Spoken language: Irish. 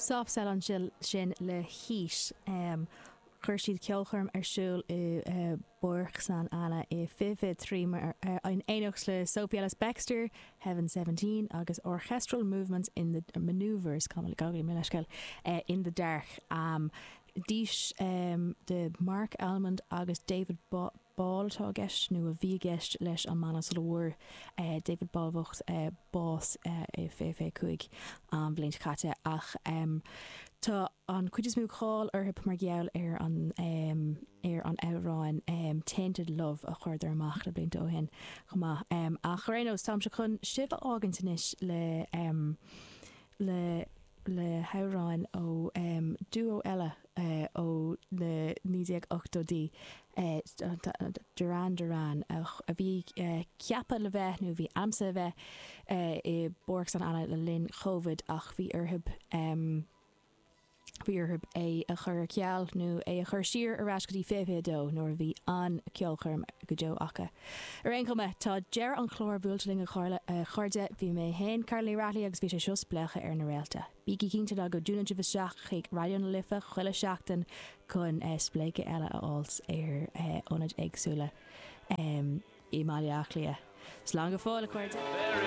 Soft Cell ansin le Heat. Chuir siad ceolchoirm ar siúl i bPáirc San Anna i 2023 in éineacht le Sophie Ellis Bextor, Heaven 17 agus Orchestral Movements in the Manoeuvres, gabh mo leithscéal, in the Dark. Dís de Marc Almond agus David Ball atá i gceist, nó a bhí i gceist, leis an mbanna sula bhfuair David Ball bocht bás i 2025, an bhliain seo caite. Ach tá an chuid is mó cáil orthu mar gheall ar an ar an amhrán Tainted Love a chuireadar amach na blianta ó shin chomh maith. Ach ar aon nós, táimse chun sibh a fhágaint anois le le le hamhráin ó duo eile ó na 1980idí, Duran Duran, a bhí ceaptha le bheith, nó a bhí aimsithe a bheith, i bPáirc San Anna le linn Covid ach bhí orthu bhí orthu é a chur ar ceal nó é a chur siar ar ais go dtí 2022 nuair a bhí an-ceolchoirm go deo acu. Ar aon chuma, tá deireadh an chláir buailte linn a chairde. Bhí mé féin, Carla Ní Raghallaigh agus bhí sé seo Spléachadh ar na Réalta. Bígí cinnte ná go dtiúnann sibh isteach chuig Raidió na Life chuile sheachtain chun spléachadh eile a fháilt ar ionaid éagsúla i mBaile Átha Cliath. Slán go fóill, a chairde!